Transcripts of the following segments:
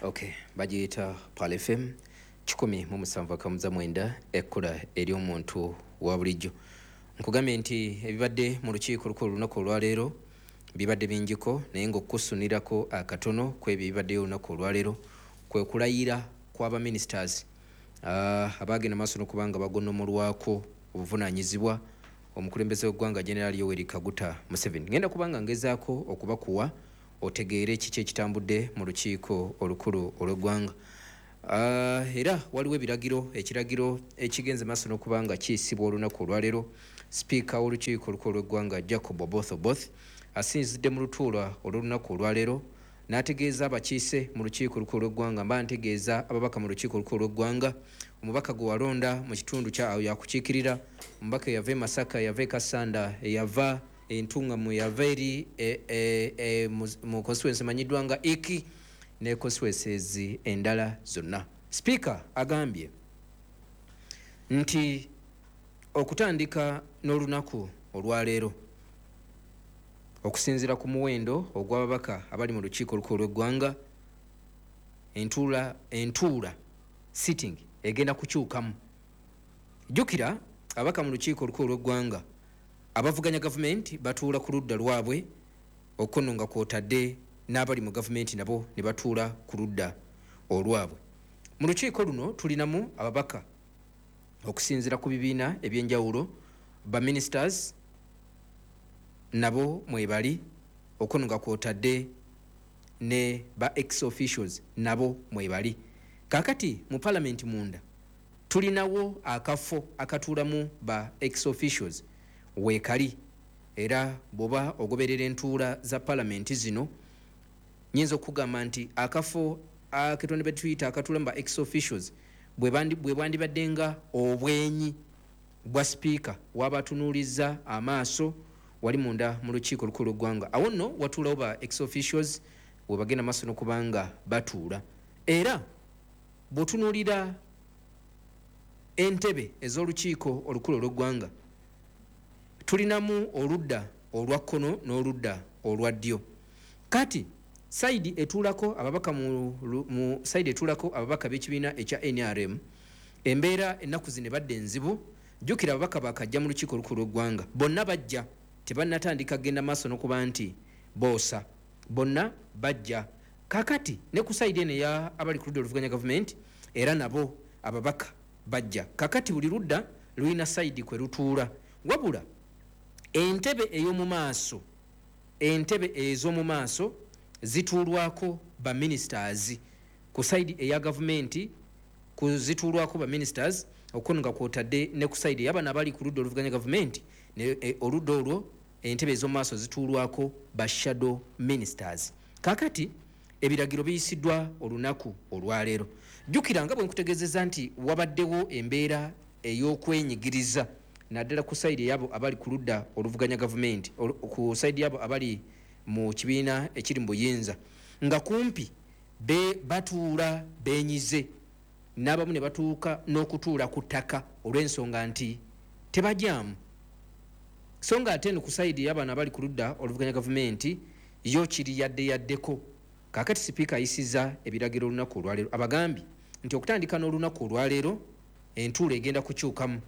Okay, bagiyita Pearl FM 107.9, ekkula ery'omuntu wa bulijjo. Nkugambye nti ebibadde mu lukiiko olukulu olunaku olwaleero bibadde bingiko, naye ng'okusunirako akatono ku ebyo ebibaddeyo olunaku olwaleero kwe kulayira kw'abaministers abagenda maaso n'okuba nga bagonomolwako obuvunaanyizibwa omukulembeze w'eggwanga General Yoweri Kaguta Museveni. Ngenda kubanga ngezaako okubakuwa otegeere kiki ekitambudde mu lukiiko olukulu olw'eggwanga. Era waliwo ebiragiro, ekiragiro ekigenze maaso n'okuba nga kiyisibwa olunaku olwaleero. Sipiika w'olukiiko olukulu olw'eggwanga Jacob Oboth Oboth asinzidde mu lutuula olw'olunaku olwaleero n'ategeeza abakiise mu lukiiko olukulu olw'eggwanga, mba ntegeeza ababaka mu lukiiko olukulu olw'eggwanga, omubaka gwe walonda mu kitundu kya awo yakukiikirira, omubaka eyava e Masaka, eyava e Kassanda, eyava Entungamu, eyava eri mu constituency emanyiddwa nga Iki ne constituencies endala zonna. Sipiika agambye nti okutandika n'olunaku olwaleero, okusinziira ku muwendo ogw'ababaka abali mu lukiiko olukulu olw'eggwanga, entuula sitting egenda kukyukamu. Jjukira ababaka mu lukiiko olukulu olw'eggwanga abavuganya gavumenti batuula ku ludda lwabwe, okuno nga kwotadde n'abali mu gavumenti nabo ne batuula ku ludda olwabwe. Mu lukiiko luno tulinamu ababaka okusinziira ku bibiina ebyenjawulo, ba ministers nabo mwebali, okuno nga kwotadde ne ba ex officials nabo mwebali. Kaakati mu parliament munda tulinawo akafo akatuulamu ba ex officials weekali, era bw'oba ogoberera entuula za parliament zino nyinza okugamba nti akafo aketondebwe tuyita akatuulamu ba ex officials bwe bwandibadde nga obwenyi bwa sipiika wabatunuuliza amaaso wali munda mu lukiiko olukulu lw'eggwanga. Awo nno watuulawo ba ex officials we bagenda maaso n'okubanga batuula. Era bw'otunuulira entebe ez'olukiiko olukulu olw'eggwanga tulinamu oludda olwa kkono n'oludda olwa ddyo. Kati sayidi etuulako ababaka mu sayidi etuulako ababaka b'ekibiina ekya NRM, embeera ennaku zino ebadde enzibu. Jjukira ababaka bakajja mu lukiiko olukulu lw'eggwanga, bonna bajja tebannatandika kugenda maaso n'okuba nti boosa, bonna bajja. Kaakati ne ku sayidi eno eya abali ku ludda oluvuganya gavumenti era nabo ababaka bajja. Kaakati buli ludda lulina sayidi kwe lutuula, wabula entebe ey'omu maaso, entebe ez'omu maaso zituulwako ba ministers ku sayidi eya gavumenti, zituulwako ba ministers, okuno nga kwotadde ne ku sayidi ey'abano abali ku ludda oluvuganya gavumenti, ne oludda olwo entebe ez'omu maaso zituulwako ba shadow ministers. Kaakati ebiragiro biyisiddwa olunaku olwaleero. Jjukira nga bwe nkutegeezezza nti wabaddewo embeera ey'okwenyigiriza naddala ku sayidi ey'abo abali ku ludda oluvuganya gavumenti, ku sayidi y'abo abali mu kibiina ekiri mu buyinza, nga kumpi batuula beenyize, n'abamu ne batuuka n'okutuula ku ttaka olw'ensonga nti tebajaamu. So nga ate eno ku sayidi ey'abano abali ku ludda oluvuganya gavumenti yo kiri yadde yaddeko. Kaakati sipiika ayisizza ebiragiro olunaku olwaleero, abagambye nti okutandika n'olunaku olwaleero entuula egenda kukyukamu,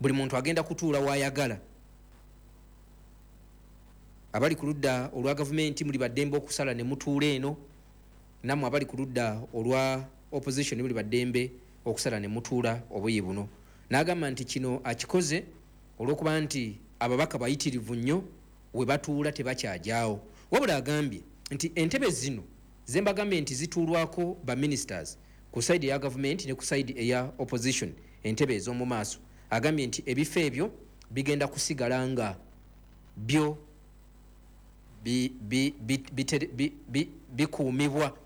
buli muntu agenda kutuula w'ayagala. Abali ku ludda olwa gavumenti muli baddembe okusala ne mutuula eno, nammwe abali ku ludda olwa opposition muli baddembe okusala ne mutuula obuyi buno. N'agamba nti kino akikoze olw'okuba nti ababaka bayitirivu nnyo, we batuula tebakyajaawo. Wabula agambye nti entebe zino ze mbagambye nti zituulwako ba ministers ku sayidi eya gavumenti ne ku sayidi eya opposition, entebe ez'omu maaso, agambye nti ebifo ebyo bigenda kusigala nga byo bikuumibwa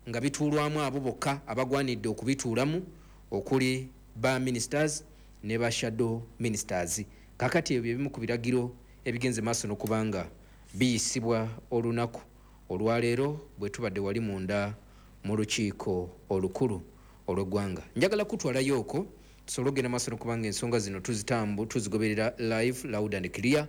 nga bituulwamu abo bokka abagwanidde okubituulamu, okuli ba ministers ne ba shadow ministers. Kaakati ebyo bye bimu ku biragiro ebigenze maaso n'okuba nga biyisibwa olunaku olwaleero bwe tubadde wali munda mu lukiiko olukulu olw'eggwanga. Njagala kutwalayo okwo tusobole okugenda maaso n'okuba nga ensonga zino tuzigoberera live, loud and clear.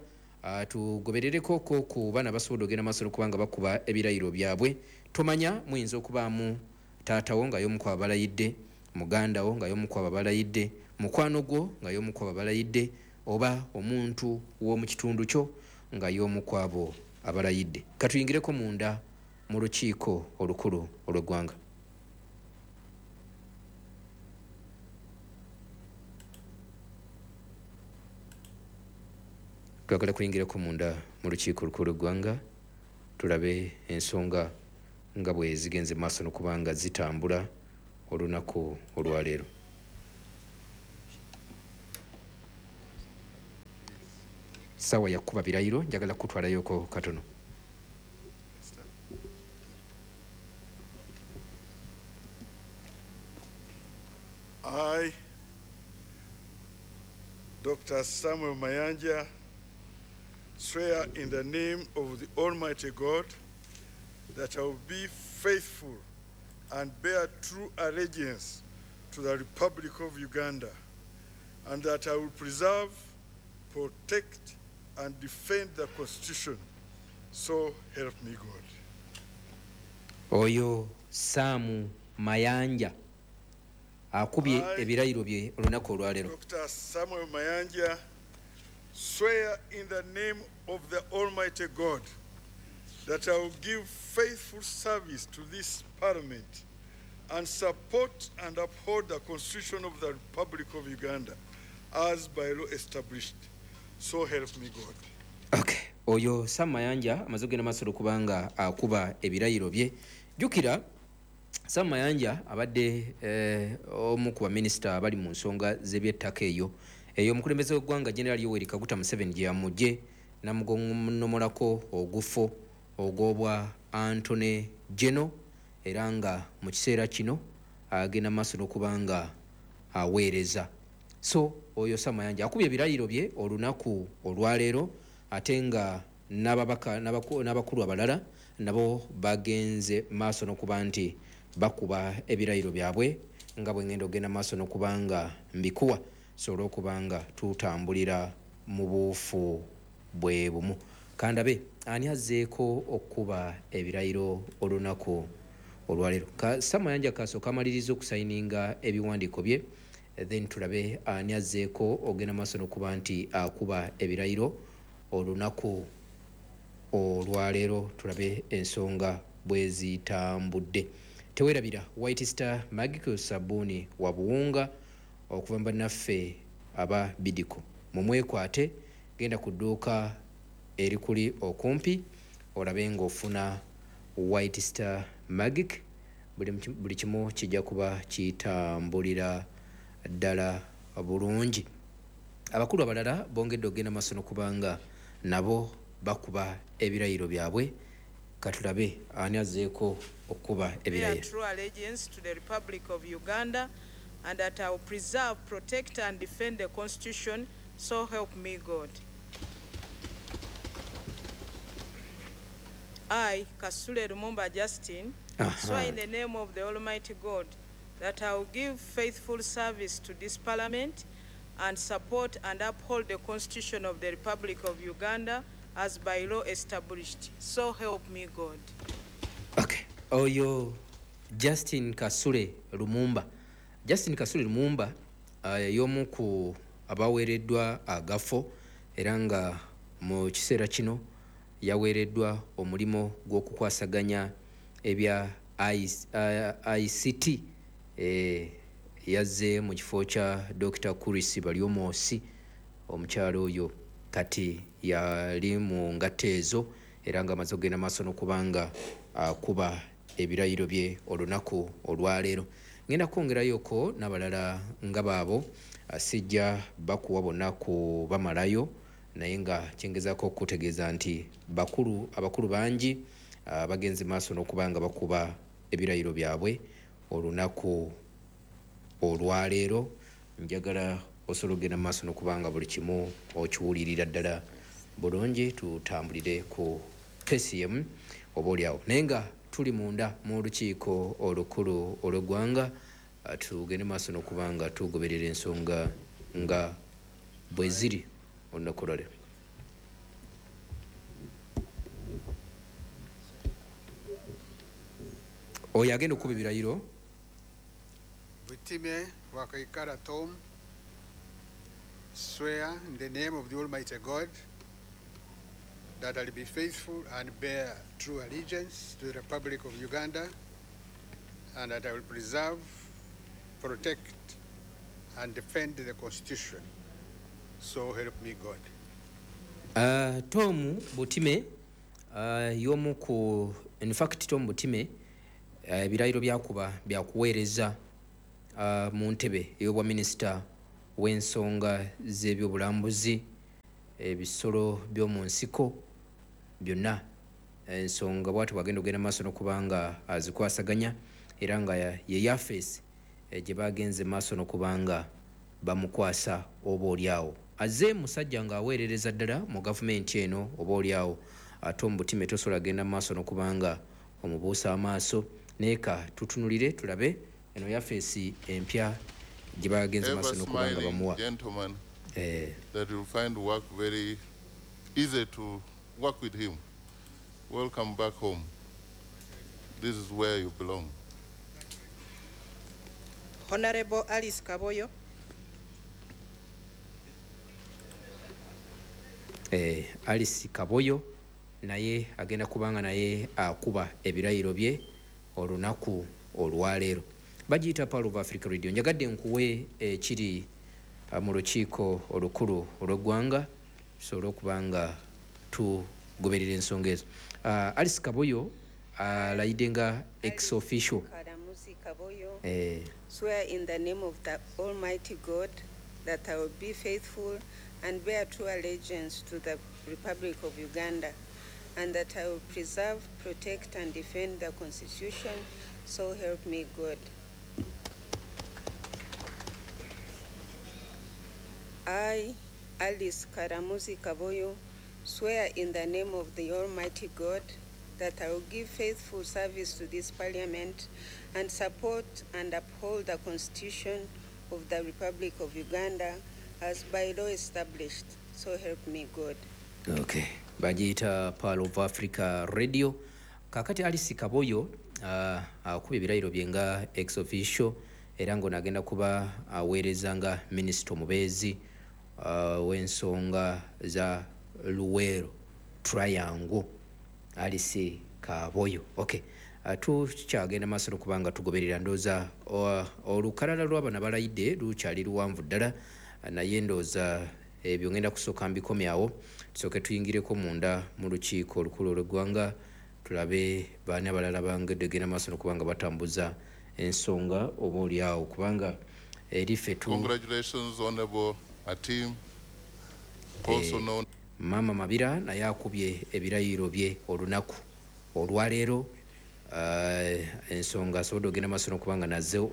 Tugoberereko ko ku baana basobodde ogenda maaso n'okubanga bakuba ebirayiro byabwe. Tomanya, muyinza okubaamu taatawo nga y'omu ku abalayidde, muganda wo nga y'omu ku abalayidde, mukwano gwo nga y'omu ku abalayidde, oba omuntu w'omu kitundu kyo nga y'omu ku abo abalayidde. Katuyingireko munda mu lukiiko olukulu olw'eggwanga. Twagala kuyingirako munda mu lukiiko olukulu lw'eggwanga tulabe ensonga nga bwe zigenze maaso n'okuba nga zitambula olunaku olwaleero. Ssaawa yakuba birayiro, njagala kutwalayoko katono. I, Dr. Samuel Mayanja, swear in the name of the Almighty God that I will be faithful and bear true allegiance to the Republic of Uganda, and that I will preserve, protect, and defend the Constitution. So help me God. Oyo Samu Mayanja akubye ebirayiro bye olunaku olwaleero. Dr. Samuel Mayanja, swear in the name of the Almighty God that I will give faithful service to this Parliament and support and uphold the Constitution of the Republic of Uganda as by law established. So help me God. Okay. Oyo Sam Mayanja amaze okugenda maaso okubanga akuba ebirayiro bye. Jjukira Sam Mayanja abadde omu ku baminisita abali mu nsonga z'ebyettaka eyo omukulembeze w'eggwanga General Yoweri Kaguta Museveni gye yamugye namugonomolako ogufo ogw'obwa Antony General, era nga mu kiseera kino agenda maaso n'okubanga aweereza. So oyo Sam Mayanja akubye ebirayiro bye olunaku olwaleero, ate nga n'ababaka n'abakulu abalala nabo bagenze maaso n'okuba nti bakuba ebirayiro byabwe nga bwe ngenda ogenda maaso n'okubanga mbikuwa, so olw'okubanga tutambulira mu buufu bwe bumu. Kandabe ani azzeeko okukuba ebirayiro olunaku olwaleero. Sam Mayanja kasooka amaliriza okusayininga ebiwandiiko bye, then tulabe ani azzeeko ogenda maaso n'okuba nti akuba ebirayiro olunaku olwaleero, tulabe ensonga bwe zitambudde. Teweerabira White Star Magical sabbuuni wa buwunga okuva mu bannaffe aba Bidiko. Mumwekwate, genda ku dduuka erikuli okumpi olabe ng'ofuna White Star Magic. Buli kimu kijja kuba kitambulira ddala bulungi. Abakulu abalala bongedde okugenda maaso n'okubanga nabo bakuba ebirayiro byabwe. Katulabe ani azzeeko okukuba ebirayiro. True allegiance to the Republic of Uganda, and that I will preserve, protect, and defend the Constitution. So help me God. I, Kasule Lumumba Justin, swear in the name of the Almighty God that I will give faithful service to this Parliament and support and uphold the Constitution of the Republic of Uganda as by law established. So help me God. Okay. Oyo Justin Kasule Lumumba. Justin Kasule Lumumba y'omu ku abaweereddwa agafo, era nga mu kiseera kino yaweereddwa omulimu gw'okukwasaganya ebya ICT. Yazze mu kifo kya Dr. Chris Baryomosi. Omukyalo oyo kati yali mu ngatto ezo, era nga amaze okugenda maaso n'okubanga akuba ebirayiro bye olunaku olwaleero. Ngenda kwongerayoko n'abalala nga baabo, sijja bakuwa bonna kubamalayo, naye nga kyengezaako okutegeeza nti abakulu bangi bagenze maaso n'okubanga bakuba ebirayiro byabwe olunaku olwaleero. Njagala osobola okugenda maaso n'okubanga buli kimu okiwulirira ddala bulungi, tutambulire ku KCM oba oliawo. Naye nga tuli munda mu lukiiko olukulu olw'eggwanga, tugende maaso n'okubanga tugoberera ensonga nga bwe ziri olunaku olwaleero. Oyo agenda okukuba ebirayiro. Butime Wakaikara Tom, swear in the name of the Almighty God that I'll be faithful and bear true allegiance to the Republic of Uganda, and that I will preserve, protect, and defend the Constitution. So help me God. Tom Butime y'omu ku, in fact Tom Butime ebirayiro byakuba byakuweereza mu ntebe ey'obwa minisita w'ensonga z'ebyobulambuzi, ebisolo by'omu nsiko byonna, ensonga bw'atyo bw'agenda okugenda maaso n'okuba nga azikwasaganya, era nga ye yafeesi gye bagenze maaso n'okuba nga bamukwasa. Oba oliawo azze musajja ng'aweerereza ddala mu gavumenti eno. Oba oliawo ate Butime tosobola genda maaso n'okuba nga omubuusa amaaso, naye ka tutunulire tulabe eno yafeesi empya gye bagenze maaso n'okuba nga bamuwa. That you'll find work very easy to work with him. Welcome back home. This is where you belong. Honorable Alice Kaboyo. Alice Kaboyo naye agenda kubanga naye akuba ebirayiro bye olunaku olwaleero. Bagiyita Pearl of Africa Radio. Njagadde nkuwe ekiri mu lukiiko olukulu olw'eggwanga, tusobole okuba nga tugoberera ensonga ezo. Alice Kaboyo alayidde nga ex officio. Swear in the name of the Almighty God that I will be faithful and bear true allegiance to the Republic of Uganda, and that I will preserve, protect, and defend the Constitution, so help me God. I, Alice Karamuzi Kaboyo, swear in the name of the Almighty God that I will give faithful service to this Parliament and support and uphold the Constitution of the Republic of Uganda as by law established. So help me God. Okay. Bagiyita Pearl of Africa Radio. Kakati Alice Kaboyo akuba ebirayiro bye nga ex officio, era ng'ono agenda kuba aweereza nga minisita omubeezi w'ensonga za Luweero Triangle, Alice Kaboyo. Okay. Tukyagenda maaso n'okuba nga tugoberera. Ndowooza olukalala lw'abano abalayidde lukyali luwanvu ddala, naye ndowooza ebyo ngenda kusooka mbikomyawo, tusooke tuyingireko munda mu lukiiko olukulu olw'eggwanga, tulabe baani abalala bangedde genda maaso n'okuba nga batambuza ensonga oba oliawo, kubanga eriffe tu. Congratulations, Honorable Atim, also known. Mama Mabira naye akubye ebirayiro bye olunaku olwaleero. Ensonga asobodde ogenda maaso n'okuba nga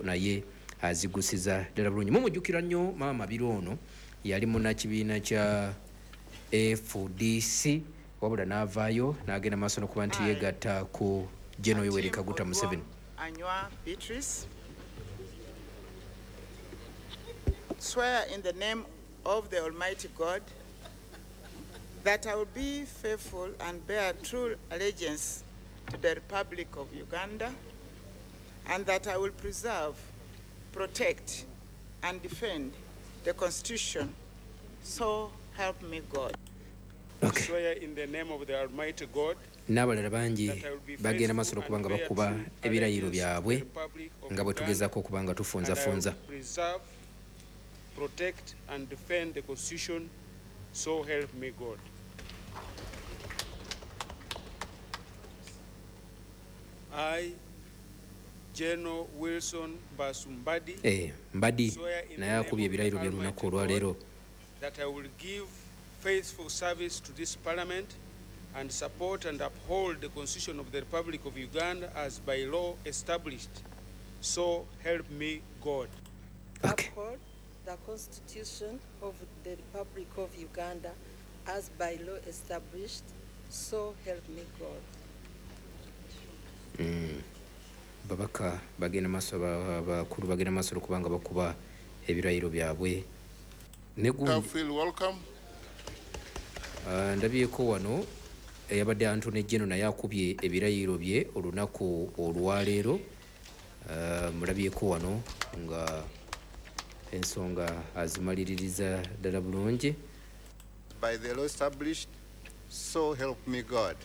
naye azigusiza ddala bulungi. Mumujjukira nnyo Mama Mabira ono yali munnakibiina kya FDC, wabula n'avaayo n'agenda maaso n'okuba nti yeegatta ku General Yoweri Kaguta Museveni. Anywa Beatrice, swear in the name of the Almighty God that I will be faithful and bear true allegiance to the Republic of Uganda, and that I will preserve, protect, and defend the Constitution. So help me God. Okay. Swear in the name of the Almighty God n'abalala bangi bagenda maaso n'okuba nga bakuba ebirayiro byabwe nga bwe tugezaako okuba nga tufunzafunza. Preserve, protect, and defend the Constitution, so help me God. I, General Wilson Basumbadi, Mbadi naye akubye ebirayiro bye olunaku olwaleero. That I will give faithful service to this Parliament and support and uphold the Constitution of the Republic of Uganda as by law established. So help me God. Okay. Uphold the Constitution of the Republic of Uganda as by law established. So help me God. Babaka bagenda maaso, bakulu bagenda maaso okuba nga bakuba ebirayiro byabwe. Feel welcome. Ndabyeko wano eyabadde Antony General naye akubye ebirayiro bye olunaku olwaleero. Mulabyeko wano nga ensonga azimaliririza ddala bulungi. By the law established, so help me God.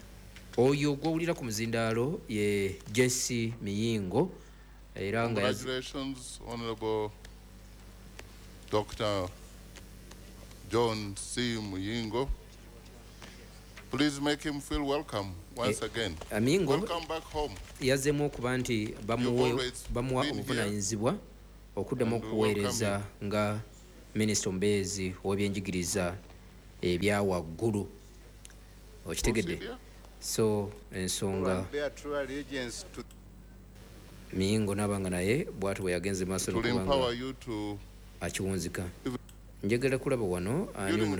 Oyo gw'owulira ku muzindaalo ye Jesse Miyingo, era nga Congratulations, Honorable Dr. John C. Muyingo. Please make him feel welcome once again. Miyingo Welcome back home. yazzeemu okuba nti bamuwa obuvunaanyizibwa okuddamu okuweereza nga minisita omubeezi ow'ebyenjigiriza ebya waggulu. Okitegedde? So ensonga Miyingo n'abanga naye bw'atyo bwe yagenze maaso n'okuba nga akiwunzika. Njagala kulaba wano ani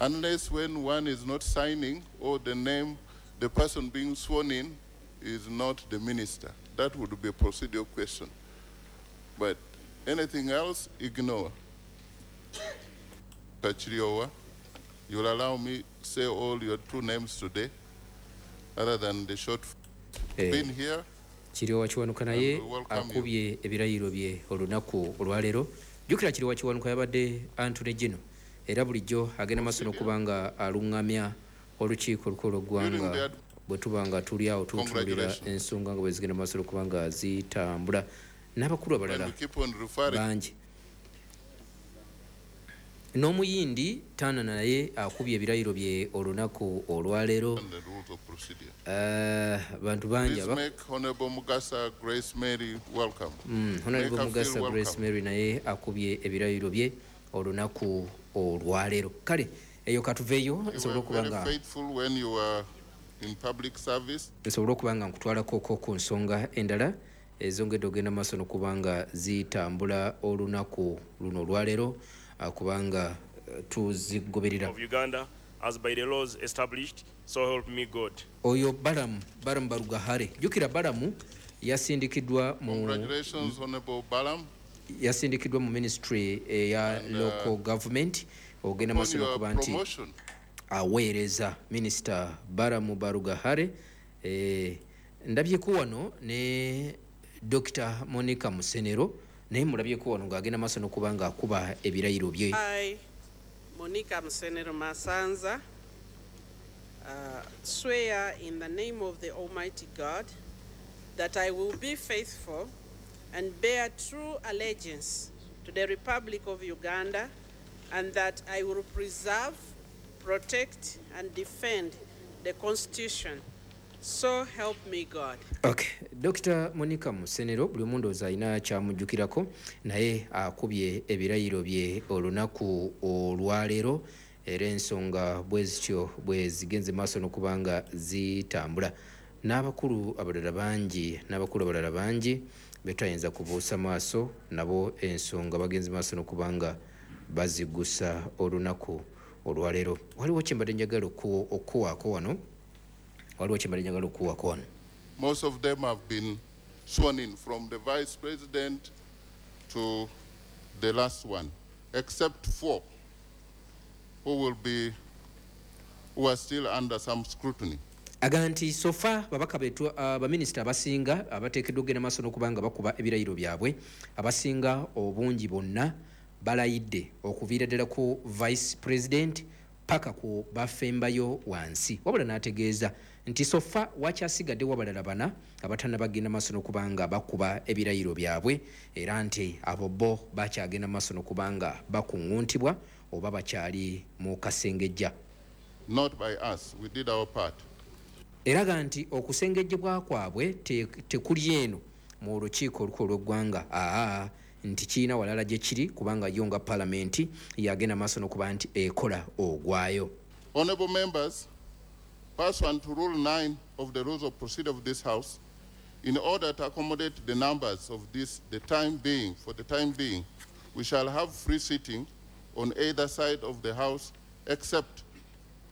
Unless when one is not signing or the name, the person being sworn in is not the minister. That would be a procedural question. But anything else, ignore. Kiryowa, you'll allow me say all your two names today, other than the short been here. Kiryowa Kiwanuka naye akubye ebirayiro bye olunaku olwaleero. Jjukira Kiryowa Kiwanuka yabadde Attorney General, era bulijjo agenda maaso n'okuba nga aluŋŋamya olukiiko olukulu lw'eggwanga bwe tuba nga tuli awo tutunuulira ensonga nga bwe zigenda maaso n'okuba nga zitambula n'abakulu abalala bangi. N'omuyindi Tana naye akubye ebirayiro bye olunaku olwaleero. Bantu bangi. Honorable Mugasa Grace Mary, welcome. Honorable Mugasa Grace Mary naye akubye ebirayiro bye olunaku olwaleero. Kale eyo katuveeyo nsobole okuba nga nsobole okuba nga nkutwalako ku nsonga endala ezongedde ogenda maaso n'okuba nga zitambula olunaku luno olwaleero, kubanga tuzigoberera. Of Uganda as by the laws established, so help me God. Oyo Balaam Barugahare. Jjukira Balaam yasindikiddwa mu Congratulations, Honorable Balaam. Yasindikiddwa mu ministry eya local government ogenda maaso n'okuba nti aweereza Minisita Balaam Barugahare. Ndabyeko wano ne Dr. Monica Musenero naye mulabyeko wano ng'agenda maaso n'okuba ng'akuba ebirayiro bye. I, Monica Musenero Masanza, swear in the name of the Almighty God that I will be faithful and bear true allegiance to the Republic of Uganda, and that I will preserve, protect, and defend the Constitution. So help me God. Okay, Dr. Monica Musenero buli omu ndowooza alina kyamujjukirako, naye akubye ebirayiro bye olunaku olwaleero, era ensonga bwe zityo bwe zigenze maaso n'okuba nga zitambula. N'abakulu abalala bangi betayinza kubuusa maaso nabo ensonga bagenze maaso n'okuba nga bazigusa olunaku olwaleero. Waliwo kye mbadde njagala okuwaako wano. Most of them have been sworn in, from the vice president to the last one, except four who are still under some scrutiny. Aga nti sofa babaka betu baminisita abasinga abateekeddwa okugenda maaso n'okuba nga bakuba ebirayiro byabwe, abasinga obungi bonna balayidde okuviira ddala ku vice president paka ku bafembayo wansi. Wabula n'ategeeza nti sofa wakyasigadde wabalala bana abatannabagenda maaso n'okuba nga bakuba ebirayiro byabwe, era nti abo bo bakyagenda maaso n'okuba nga bakuŋŋuntibwa oba bakyali mu kasengejja. Not by us, we did our part. Eraga nti okusengejjebwa kwabwe tekuli eno mu lukiiko olukulu lw'eggwanga, nti kirina walala gye kiri kubanga yo nga palamenti yagenda maaso n'okuba nti ekola ogwayo. Honorable members, pursuant to Rule 9 of the Rules of Procedure of this House, in order to accommodate the numbers of this, for the time being, we shall have free sitting on either side of the House except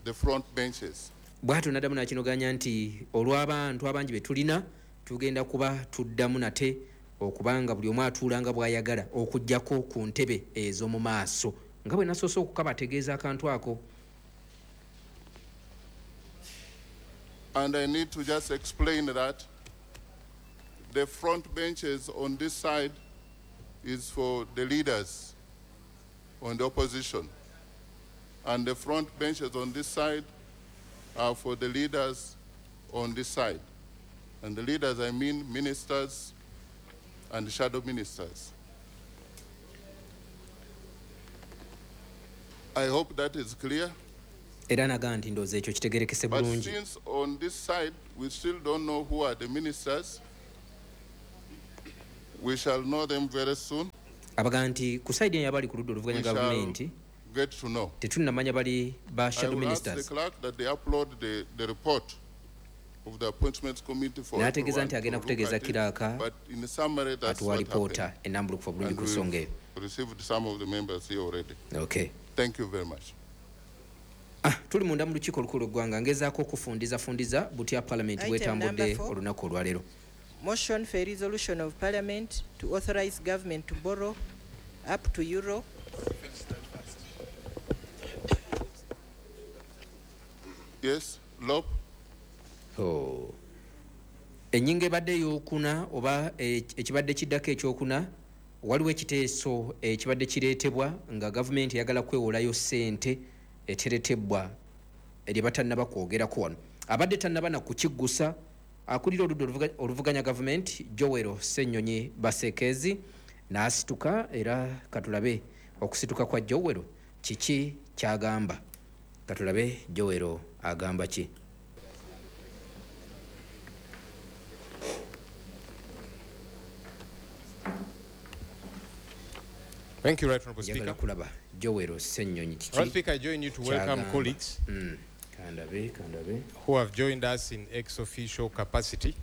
the front benches. Bw'atyo n'addamu n'akinoganya nti olw'abantu abangi be tulina tugenda kuba tuddamu nate okubanga buli omu atuula nga bw'ayagala okuggyako ku ntebe ez'omu maaso, nga bwe nasoose okukabategeeza akantu ako. And I need to just explain that the front benches on this side is for the leaders on the opposition. And the front benches on this side are for the leaders on this side. And the leaders, I mean ministers and shadow ministers. I hope that is clear. Era naga nti ndowooza ekyo kitegerekese But bulungi. since on this side we still don't know who are the ministers, we shall know them very soon. Abaga nti ku side eno abali ku ludda oluvuganya We shall gavumenti get to know. tetunnamanya bali ba I shadow will ask the ministers. clerk that they upload the report of the appointments committee for N'ategeeza everyone nti agenda to look kutegeeza at it. kiraaka But in summary, that's atuwa what alipoota happened. ennambulukufu bulungi And ku nsonga eyo. we've received some of the members here already. Okay. Thank you very much. Tuli munda mu lukiiko olukulu lw'eggwanga, ngezaako okufundizafundiza butya palamenti Item bwetambudde number 4. olunaku olwaleero. Motion for a resolution of Parliament to authorize government to borrow up to euro. Yes, Lop. Oh. Ennyingo ebadde ey'okuna oba ekibadde kiddako ekyokuna, waliwo ekiteeso ekibadde kireetebwa nga gavumenti eyagala kwewolayo ssente eteretebwa erye batannaba kwogerako wano. Abadde tannaba na kukiggusa akulira oludda oluvuganya gavumenti Joel Ssenyonyi Basekeezi n'asituka, era katulabe okusituka kwa Joel kiki ky'agamba. Katulabe Joel agamba ki. Thank you, Right Honourable Njagala Speaker. kulaba Joel Ssenyonyi kiki Right Speaker, I join you to welcome ky'agamba. colleagues Kandabe, kandabe. who have joined us in ex-officio capacity.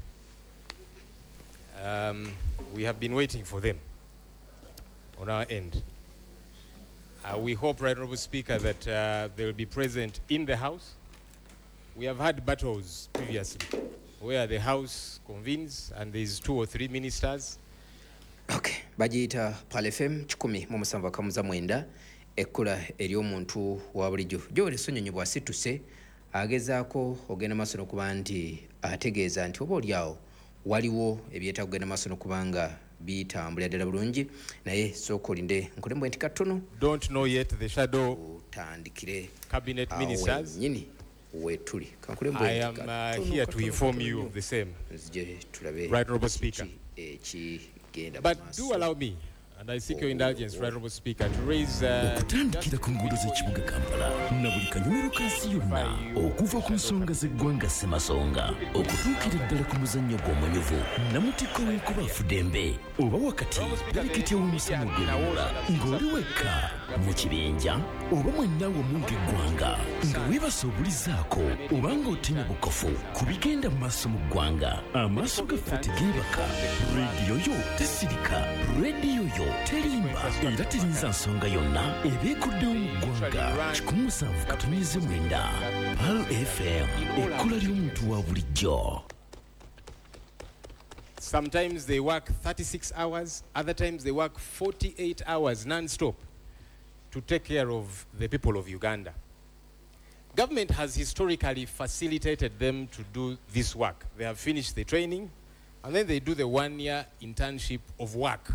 We have been waiting for them on our end. We hope, Right Honourable Speaker, that they will be present in the House. We have had battles previously where the House convenes and there's 2 or 3 ministers. Okay. Bagiyita Pearl FM 107.9, ekkula ery'omuntu wa bulijjo. Joel Ssenyonyi bw'asituse agezaako ogenda maaso n'okuba nti ategeeza nti oba oliawo waliwo ebyetaago kugenda maaso n'okuba nga bitambulira ddala bulungi, naye sooka olinde nkulembwe nti katono. Don't know yet the shadow otandikire cabinet awo ministers. wennyini wetuli. Kankulembwe I nti am katono, here to katono, inform katono you nnyo. of the same. Nzije tulabe Right Honourable Speaker. kiki ekigenda But mu do maaso. allow me, and I seek your indulgence, Right Honourable Speaker, to raise Okutandikira ku nguudo z'ekibuga Kampala na buli kanyomero ka nsi yonna, okuva ku nsonga z'eggwanga Ssemasonga okutuukira ddala ku muzannyo gw'omunyuvu namutikko w'enkuba afudembe oba wakati pereketya w'omusamu gw'ebimula, ng'oli wekka mu kibinja oba mwenna wamu ng'eggwanga, nga weebasa obulizaako oba ng'otinya bukofu ku bigenda mu maaso mu ggwanga. Amaaso gaffe tegeebaka, rediyo yo tesirika, rediyo yo terimba era terinza nsonga yonna eba ekuddewo mu ggwanga. 107.9 Pearl FM, ekkula ly'omuntu wa bulijjo. Sometimes they work 36 hours, other times they work 48 hours non-stop to take care of the people of Uganda. Government has historically facilitated them to do this work. They have finished the training, and then they do the 1-year internship of work.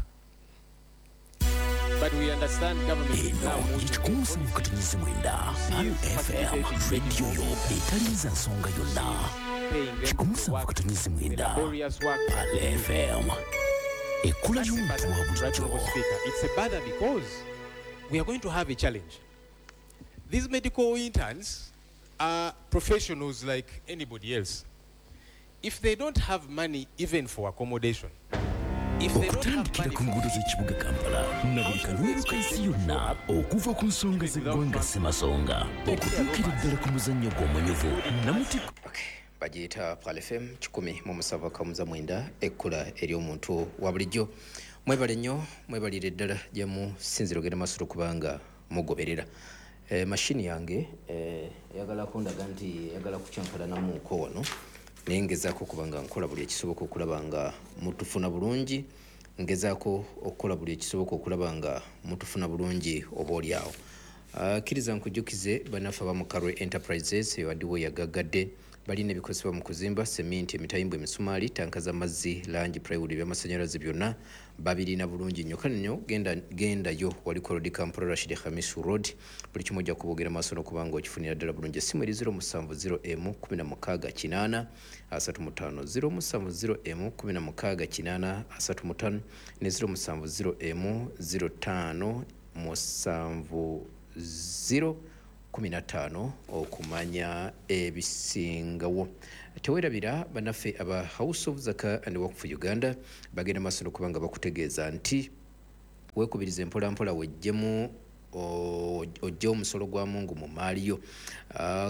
But we understand government is now Eno moving ye 107.9 Pearl FM, rediyo yo etalinza nsonga yonna. paying them to work 107.9 laborious work. Pearl FM, ekkula That's a ly'omuntu bother, wa Right bulijjo. Honourable Speaker. It's a bother because we are going to have a challenge. These medical interns are professionals like anybody else. If they don't have money even for accommodation, if they don't have Okutandikira money ku for nguudo z'ekibuga Kampala na buli kanyomero ka nsi yonna, okuva ku nsonga z'eggwanga Ssemasonga okutuukira ddala ku muzannyo gw'omunyuvu namutikko. Okay. Bagiyita Pearl FM 107.9, ekkula ery'omuntu wa bulijjo. Mwebale nnyo, mwebalire ddala gye musinzira ogenda maaso kubanga mugoberera. Mashini yange eyagala kundaga nti eyagala kukyankalanamuuko wano, naye ngezaako okuba nga nkola buli ekisoboka okulaba nga mutufuna bulungi, ngezaako okukola buli ekisoboka okulaba nga mutufuna bulungi oba oli awo. Kkiriza nkujjukize bannaffe aba Mukarwe Enterprises ewaddiwo yagaggadde Balina ebikozesebwa mu kuzimba, seminti, emitayimbwa, emisumaali, tanka z'amazzi, langi, plywood, ebyamasannyalaze byonna babirina bulungi nnyo. Kale nnyo gendayo wali ku Road Kampala Rashid Khamis Road, buli kimu ojja kubogera maaso n'okuba nga okifunira ddala bulungi. Essimu eri 070 M 16 8 35, 070 M 16 8 35 ne 070 M 05 70 15 okumanya ebisingawo. Tewerabira bannaffe aba House of Zaka and Work for Uganda bagenda maaso n'okubanga bakutegeeza nti weekubirize mpolampola wejjemu ojje omusolo gwa Mungu mu maali yo.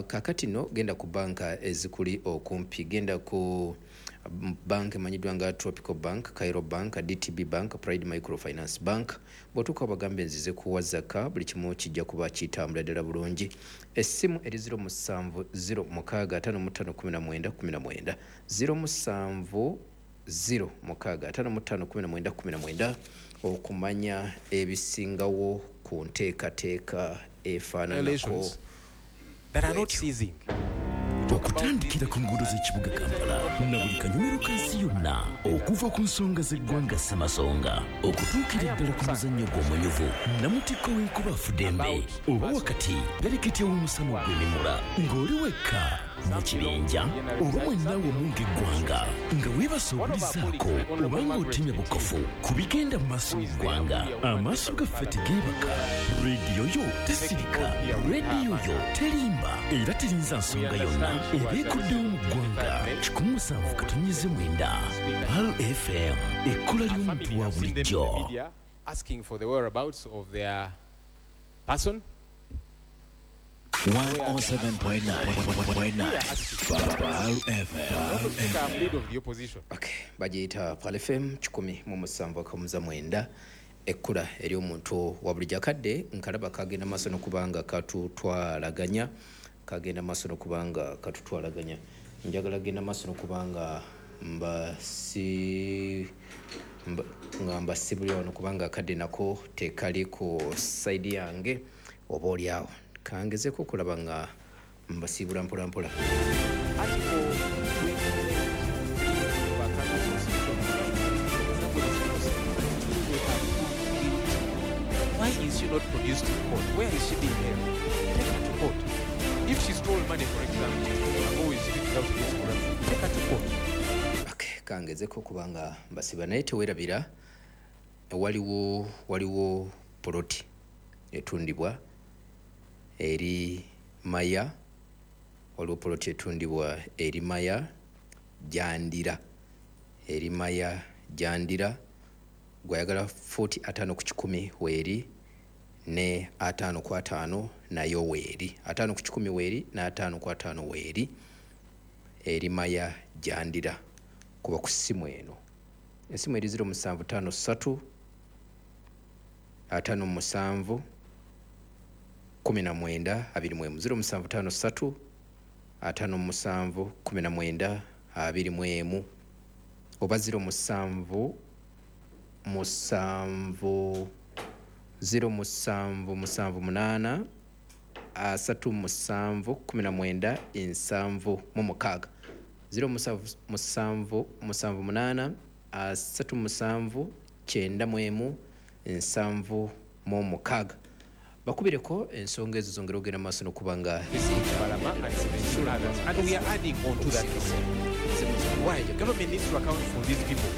Kaakati nno genda ku banka ezikuli okumpi, genda ku bank emanyiddwa nga Tropical Bank, Cairo Bank, DTB Bank, Pride Microfinance Bank. Bw'otuuka bagambe nzize kuwa zaka, buli kimu kijja kuba kitambula ddala bulungi. Essimu eri 070 06 55 19 19, 070 06 55 19 19 okumanya ebisingawo ku nteekateeka efaananako that are not ceasing. Okutandikira ku nguudo z'ekibuga Kampala na buli kanyumiro ka nsi yonna, okuva ku nsonga z'eggwanga Ssemasonga okutuukira ddala ku muzannyo gw'omunyuvu namutikko w'enkuba afudembe, oba wakati pereketya w'omusana ogw'emimula ng'oli wekka mu kibinja oba mwenna wamu ng'eggwanga, nga weebasa obulizaako oba ng'otemya bukofu ku bigenda mu maaso mu ggwanga. Amaaso gaffe tegeebaka, rediyo yo tesirika, rediyo yo terimba era terinza nsonga yonna ebeekuddewo mu ggwanga. 107.9 Pearl FM, ekkula ly'omuntu wa bulijjo. Asking for the whereabouts of their person. 107.9 Pearl FM. Leader of the opposition. Okay, bagiyita Pearl FM 107.9, ekkula ery'omuntu wa bulijjo. Akadde nkalaba kagenda maaso n'okubanga katutwalaganya, kagenda maaso n'okubanga katutwalaganya. Njagala genda maaso n'okubanga nga mbasibulira wano kubanga akadde nako tekali ku sayidi yange oba oli awo. Kangezeko okulaba nga mbasiibula mpola mpola. Article 28 of our country's constitution. Why is she not produced in court? Where is she being held? Take her to court. If she stole money, for example, or is speaking out against corruption, take her to court. Okay, kangezeko kubanga mbasiba naye tewerabira waliwo poloti etundibwa eri Maya, waliwo poloti etundibwa eri Maya Jandira, eri Maya Jandira. Gwayagala 45 ku 100 weeri ne 5 ku 5 nayo weeri, 5 ku 100 weeri na 5 ku 5 weeri, eri Maya Jandira. Kuba ku ssimu eno, essimu eri 0753 57 19 21, 0753 57 19 21 oba 07 7 0 7 7 8 3 7 19 76, 0 7 7 8 3 7 91 76. Bakubireko ensonga ezo zongera ogenda maaso n'okubanga and we are adding on to that. Why the government needs to account for these people.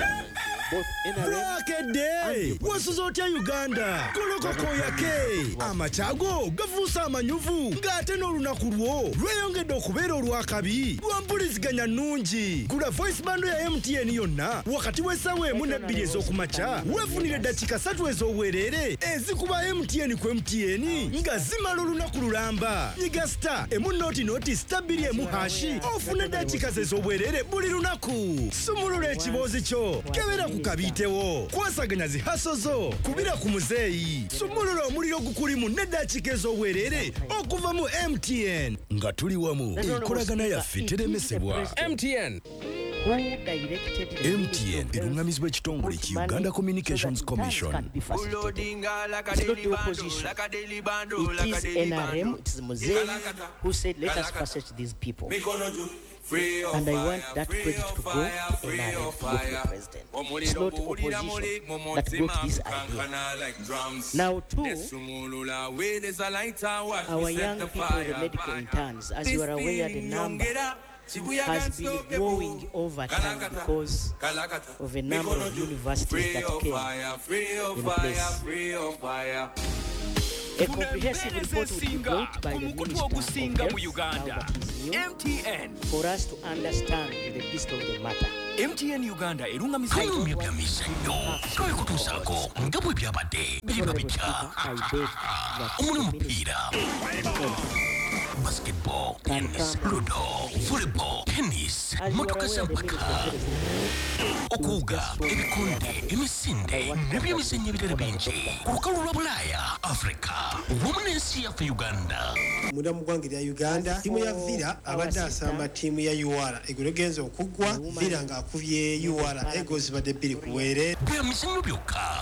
Bwakedde wasuza otya Uganda golokoko yake amakyago gafuusa amanyuvu ng'ate n'olunaku lwo lweyongedde okubeera olwakabi lwa mpuliziganya nnungi. Gula voice bando ya MTN yonna wakati w'essaawa 1 ne 2 ez'okumakya weefunire eddakiika 3 ez'obwereere ezikuba MTN ku MTN nga zimala olunaku lulamba. Nyiga star emu noti noti star 2 emu hashi ofune eddakiika z'ez'obwereere buli lunaku. Sumulula ekiboozi kyo, kebera ku kabitewo, kwasaganya zihaso zo, kubira ku muzeeyi, sumulula omuliro gukulimu n'eddakiika ez'obwereere okuva mu MTN. Nga tuli wamu, enkolagana yaffe teremesebwa. MTN. Who directed the Ministry MTN of Health eruŋŋamizibwa ekitongole put ki money Uganda so Communications that interns Commission. can be facilitated? It's not the opposition. It is NRM, it is Muzei who said, let us facilitate these people. And I want that credit to go to NRM, to go to the president. It's not opposition that brought this idea. Now, two, our young people, the medical interns, as you are aware, the number has been growing over time because of a number of universities that came in place. A comprehensive report will be ezisinga brought by ku the mukutu Minister of ogusinga mu Health, now Uganda, that is new, MTN. for us to understand the gist of the matter. MTN Uganda erungamizibwa Tunyumya bya mizannyo twabikutuusaako nga bwe byabadde biriba Honorable bitya. Speaker, I beg that Omuli the omupiira, basketball, can tennis, come. Ludo, volleyball, tennis, As you are motoka aware, the z'empaka, Minister of Health okuwuga, ebikonde, emisinde n'ebyemizannyo ebirala bingi ku lukalu lwa Bulaaya, Afrika wamu n'ensi yaffe Uganda. Munda mu ggwanga erya Uganda, ttiimu ya Villa abadde asamba ttiimu ya UR. Eggulo egenza okuggwa, Villa ng'akubye UR Eagles zibadde 2-0. Bya mizannyo byokka.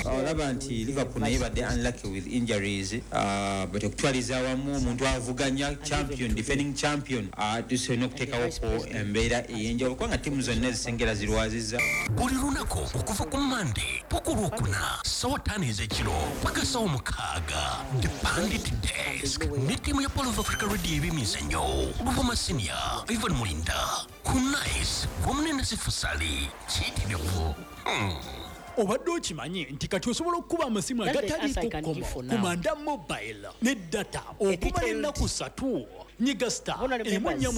Olaba nti Liverpool naye badde unlucky with injuries, but okutwaliza awamu omuntu avuganya champion, defending champion, tusobola okuteekawoko embeera ey'enjawulo kubanga ttiimu zonna ezisengera zirwaziza. Buli lunaku okuva ku Mande paka Olwokuna, 5:00 ez'ekiro paka 6:00, The Pandit Desk ne ttiimu ya Pearl of Africa Radio eb'emizannyo, Buvuma Senior, Ivan Mulinda ku Nice wamu ne Nasifu Sali kiyitirivu. Obadde okimanyi nti kati osobola okukuba amasimu That's the answer I agataliiko can kkomo give for ku now. Manda Mobile ne data okumala detailed- ennaku 3? Nyiga star Honorable 1 members, 4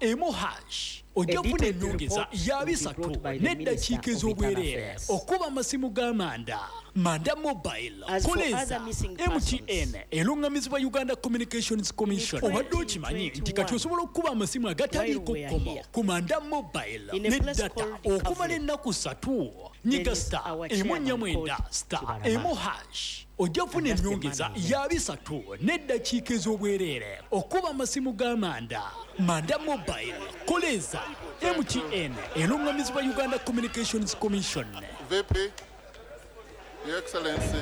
9 *1 hash, ojja a kufuna detailed ennyongeza report ya will be 30 brought by the n'eddakiika Minister of Internal ez'obwereere Affairs. okuba amasimu g'amanda. Manda Mobile, As for koleeza other missing MTN eruŋŋamizibwa Uganda Communications Commission. Obadde okimanyi nti kati osobola okukuba amasimu agataliiko While we are kkomo here, ku Manda Mobile in a ne place data called okumala Kavule, ennaku 3? Nyiga there is star our 1 4 chairman 9 called star Kibalama. 1 hash, ojja kufuna And that's the ennyongeza man I ya 30 n'eddakiika ez'obwereere okuba amasimu g'amanda. Manda Mobile, koleeza MTN eruŋŋamizibwa Uganda Communications Commission. VP, Your Excellency.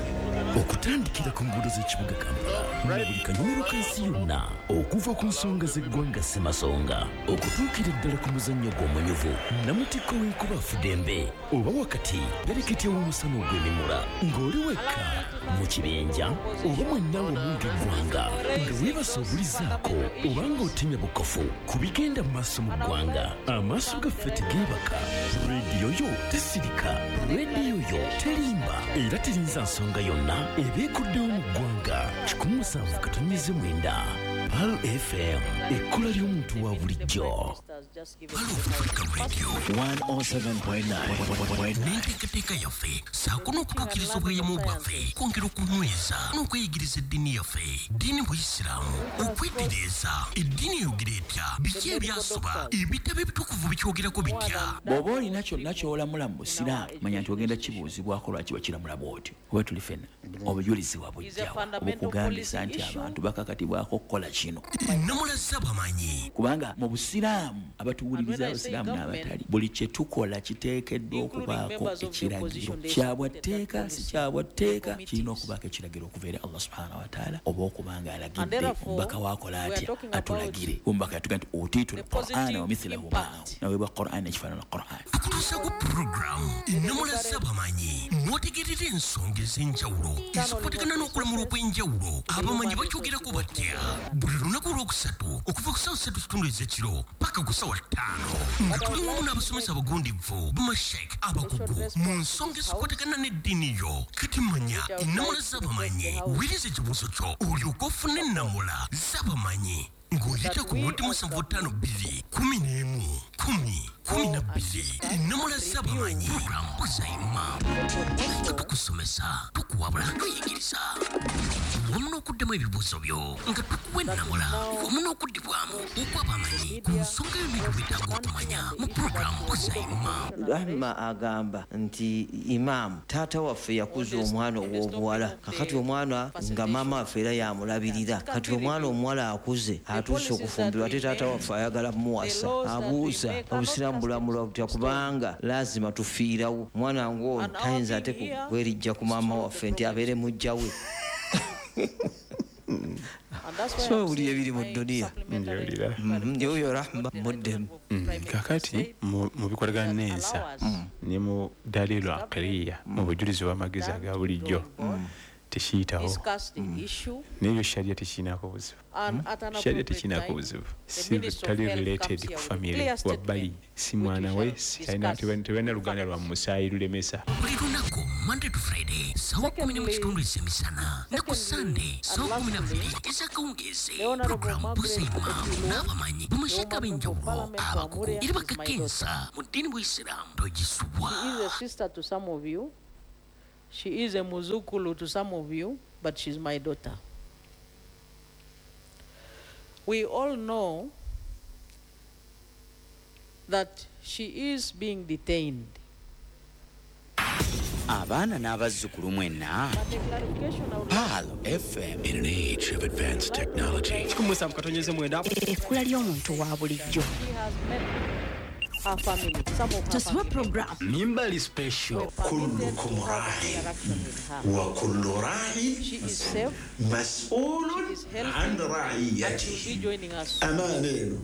Okutandikira ku nguudo z'ekibuga Kampala na buli kanyumiro k'ensi yonna, okuva ku nsonga z'eggwanga ssemasonga okutuukira ddala ku muzannyo gw'omunyuvu, namutikko w'enkuba afudembe oba wakati pereketya w'omusana ogw'emimula, ng'oli wekka mu kibinja oba mwenna wamu ng'eggwanga, nga weebasa obulizaako oba ng'otemya bukofu ku bigenda mu maaso mu ggwanga, amaaso gaffe tegeebaka, rediyo yo tesirika, rediyo yo terimba era terinza nsonga yonna ebeekuddewo mu ggwanga. 107.9 Pearl FM, ekkula ly'omuntu wa bulijjo. 107.9. N'enteekateeka yaffe ssaako n'okutuukiriza obweyamo bwaffe, kwongera okunyweza n'okweyigiriza eddiini yaffe, ddiini buyisiraamu, okwetereeza eddiini eyogera etya, biki ebyasoba, ebitabo ebitukuvu bikyogerako bitya. Bw'oba olina kyonna ky'olamula mu busiraamu, manya nti ogenda kibuuzibwako lwaki wakiramula bw'otyo. Oba tuli ffenna obujulizi wabujjawa obukugambisa nti abantu bakakatibwako okukola kino? Namulaza bamanyi. Kubanga mu busiraamu, abatuwuliriza abasiraamu n'abatali, buli kye tukola kiteekeddwa okubaako ekiragiro kyabwatteeka, si kyabwatteeka, kirina okubaako ekiragiro okuva eri Allah subhanahu wataala, oba okuba nga alagidde omubaka waakola atya atulagire. Omubaka yatuga nti utiitu lqur'ana wa mithilahu maahu, naweebwa Qur'an ekifaanana Qur'an. Tukutuusaku puroguramu Namulaza bamanyi, mwotegerera ensonga ez'enjawulo ezikwatagana n'okulamula okw'enjawulo. Abamanyi bakyogerako batya? Buli lunaku olwokusatu okuva ku 3:15 ez'ekiro paka ku 5:00, nga tuli wamu n'abasomesa abagundivu, bamashek abakugu mu nsonga ezikwatagana n'eddiini yo. Kati manya ennamula z'abamanyi, wuliriza ekibuuzo kyo olyoke ofune ennamula z'abamanyi ng'oyita ku noti 752 11 10. 12 ennamula z'abamanyi program Buuza Imam nga tukusomesa, tukuwabula, tuyigiriza wamu n'okuddamu ebibuuzo byo nga tukuwa ennamula wamu n'okuddibwamu okw'abamanyi ku nsonga yonna gy'obeetaaga okumanya mu program Buuza Imam. Rahma agamba nti imaamu taata waffe yakuza omwana ow'obuwala, kakati omwana nga maama waffe era yamulabirira, kati omwana omuwala akuze atuuse okufumbirwa ate taata waffe ayagala mumuwasa. Abuuza obusiraamu bulamulwa butya, kubanga lazima tufiirawo omwana ng'ono tayinza ate kwerijja ku maama waffe nti abeere mujja we. So buli ebiri mu dduniya oyo Rahma muddemu. Kakati mu bikolagana n'ensa ne mu dalilu aqliya, mu bujulizi bw'amagezi aga bulijjo tekiyitawo, n'ebyo sharia tekirinako buzibu. Sharia tekirinako buzibu, si tali related ku family wabbali, si mwana we, tebalina luganda lwa musaayi lulemesa. Buli lunaku Monday to Friday sawa 10:15 ez'emisana ne ku Sunday sawa 12 ez'akawungeezi. Program Buuza Imam n'abamanyi bamashaka ab'enjawulo abakugu era bakakensa mu ddiini bw'Isiraamu togisubwa. She is a sister to some of you. She is a muzukulu to some of you, but she's my daughter. We all know that she is being detained. Abaana n'abazzukulu mwenna. Pearl FM. In an age of advanced technology. Ekkula ly'omuntu wa bulijjo. She has met her family, some of her Tusubwe family. program Mimbali special. كلكم راع وكل راع She is safe. مسؤول She is healthy. عن And she'll رعيته. be joining us soon. Amaana eno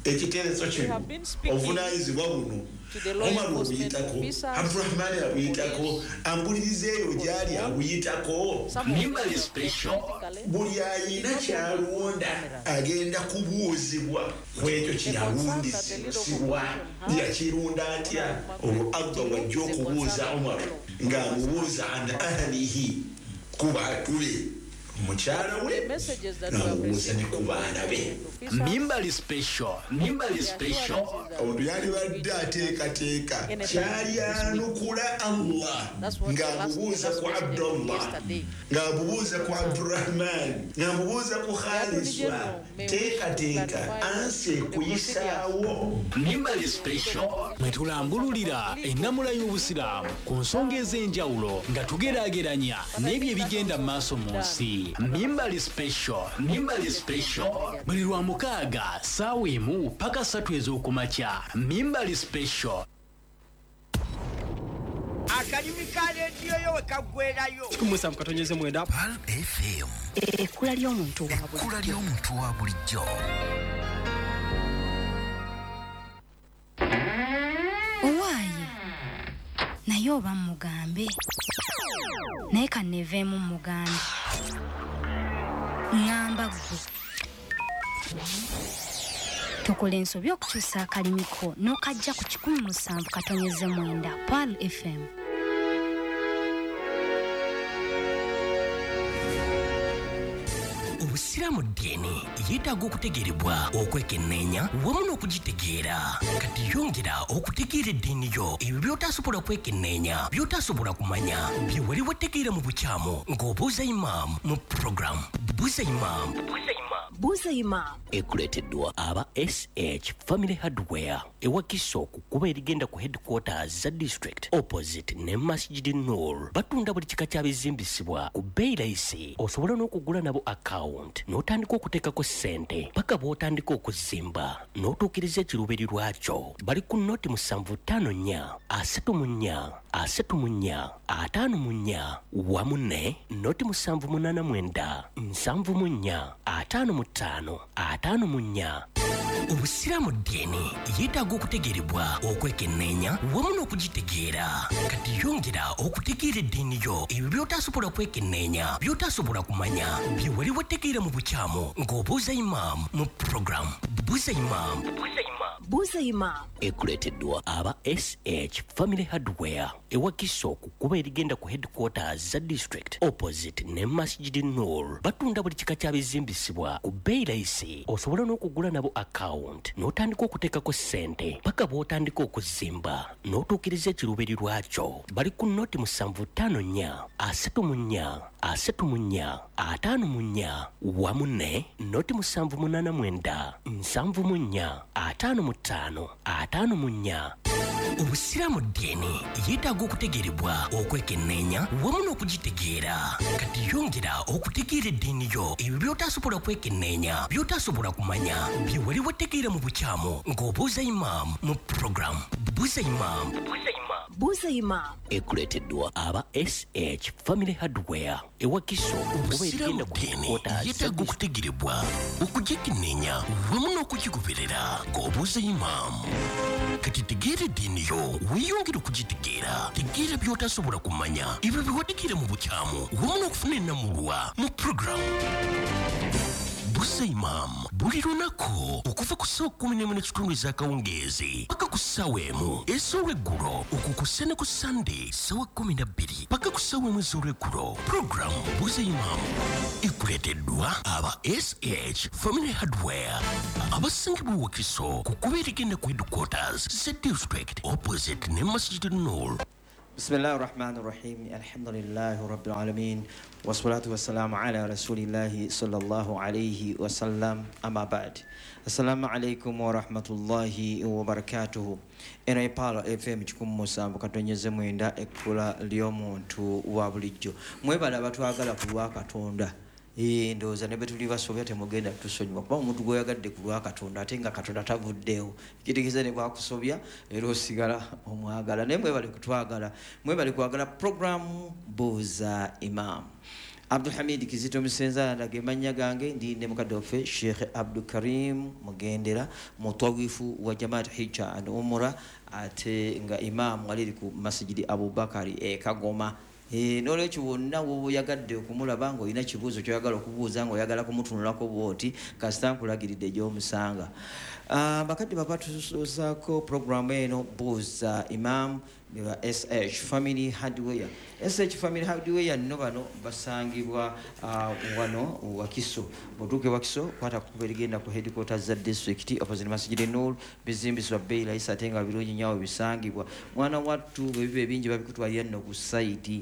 ekiteeso We kino have been speaking obuvunaanyizibwa buno to the law Omar enforcement abuyitako, officers, Abdurahmani abuyitako, ambuliriza eyo gy'ali abuyitako. Some of Mimbali them special. practically Buli ayina kyalonda agenda kubuuzibwa ku ekyo The concern that the leader of kyeyalundisibwa. opposition has Yakirunda atya? Olwo Allah wajja okubuuza Omar ng'amubuuza an ahlihi, ku bantu be, mukyala we the messages that we have n'amubuuza ne received ku from baana be. officers, Mimbali special. Mimbali the special. assurances that Omuntu yalibadde ateekateeka kyalyanukula Allah That's what the last, the ng'amubuuza last ku president did Abdullah, yesterday. ng'amubuuza ku Abdurahman, ng'amubuuza ku The Attorney Khaliswa. General may wish to Teekateeka clarify ansi the ekuyisaawo. Mimbali special. Mwe tulambululira ennamula y'obusiraamu ku nsonga ez'enjawulo nga tugeraageranya n'ebyo ebigenda mu maaso mu nsi. Mimbali special. Mimbali special. Buli lwa mukaaga ssaawa 1 paka 3 ez'okumakya. Mimbali special. Akalimi ka leediyo yo we kaggwerayo. 17.9. Pearl FM. Ekkula ly'omuntu wa bulijjo. Ekkula ly'omuntu wa bulijjo. Owaaye naye oba mugambe, naye kanneeveemu mugambe, ŋŋamba ggwe tokola ensobi okukyusa akalimiko n'okajja ku 107.9 Pearl FM. Obusiraamu ddiini yeetaaga okutegeerebwa, okwekenneenya wamu n'okugitegeera. Kati yongera okutegeera eddiini yo, ebyo by'otasobola kwekenneenya, by'otasobola kumanya, bye wali wategeera mu bukyamu ng'obuuza imaamu mu program Buuza Imam. Buuza Imam. Ekuleeteddwa aba SH Family Hardware ewakiso ku kkubo erigenda ku headquarters za district opposite ne Masjid Nur. Batunda buli kika kya bizimbisibwa ku bbeeyi layisi. Osobola n'okugula nabo account n'otandika okuteekako ssente paka bw'otandika okuzimba n'otuukiriza ekiruubirirwa kyo. Bali ku noti 754 34 34 54 wamu ne noti 789 74 55 54. Obusiraamu ddiini yeetaaga okutegeerebwa, okwekenneenya wamu n'okugitegeera. Kati yongera okutegeera eddiini yo, ebyo by'otasobola kwekenneenya, by'otasobola kumanya, bye wali wategeera mu bukyamu ng'obuuza imaamu mu program Buuza Imam. Buuza Imam. Ekuleeteddwa aba SH Family Hardware. e Wakiso ku kkubo erigenda ku headquarters za district opposite ne Masjid Nur. Batunda buli kika kya bizimbisibwa ku bbeeyi layisi. Osobola n'okugula nabo account n'otandika okuteekako ssente paka bw'otandika okuzimba n'otuukiriza ekiruubirirwa kyo. Bali ku noti 754 34 34 54 wamu ne noti 789 74 55 54. Obusiraamu ddiini yeetaaga okutegeerebwa, okwekenneenya wamu n'okugitegeera. Kati yongera okutegeera eddiini yo, ebyo by'otasobola kwekenneenya, by'otasobola kumanya, bye wali wategeera mu bukyamu ng'obuuza imaamu mu puroguramu Buuza Imaamu. Buuza Imaamu ekuleeteddwa aba SH Family Hardware e Wakiso. Obusiraamu ddiini yeetaaga okutegeerebwa, okugyekenneenya wamu n'okugigoberera ng'obuuza imaamu. Kati tegeera eddiini yo, weeyongere okugitegeera. Tegeera by'otasobola kumanya, ebyo bye wategeera mu bukyamu wamu n'okufuna ennamulwa mu puroguramu Buuza Imaamu buli lunaku okuva ku ssaawa 11:15 ez'akawungeezi paka ku ssaawa 1 ez'olweggulo, okwo kw'ossa ne ku Sande ssaawa 12 paka ku ssaawa 1 ez'olweggulo. Puroguramu Buuza Imaamu ekuleeteddwa aba SH Family Hardware abasangibwa e Wakiso ku kkubo erigenda ku headquarters za district opposite ne Masjid Nur. بسم الله الرحمن الرحيم الحمد لله رب العالمين والصلاة والسلام على رسول الله صلى الله عليه وسلم أما بعد السلام عليكم ورحمة الله وبركاته. Eno ye Pearl FM 107.9, ekkula ly'omuntu wa bulijjo. Mwebale abatwagala ku lwa Katonda. Ndowooza ne bwe tuli basobya temugenda kutusonyiwa, kuba omuntu gw'oyagadde ku lwa Katonda ate nga Katonda tavuddeewo, kitegeeza ne bwakusobya era osigala omwagala. Naye mwebale kutwagala, mwebale kwagala puroguramu Buuza Imaamu. Abdulhamid Kizito Musenza ndaga emannya gange, ndi ne mukadde waffe Sheikh Abdulkarim Mugendera, mutawifu wa Jamaat Hijja and Umrah, ate nga imaamu aliri ku Masjidi Abubakari e Kagoma. N'olwekyo wonna w'oba oyagadde okumulaba ng'olina kibuuzo ky'oyagala okubuuza, ng'oyagala kumutunulako bw'oti, kasita nkulagiridde gy'omusanga. Bakadde baba tusuuzaako puroguramu eno Buuza Imaamu ba SH Family Hardware. SH Family Hardware nno bano basangibwa wano Wakiso. Bw'otuuka e Wakiso kwata ku kkubo erigenda ku headquarters za district opposite Masjid Nur, bizimbisibwa bbeeyi layisi ate nga birungi nnyo awo bisangibwa. Mwana wattu bwe biba ebingi babikutwalira nno ku sayiti.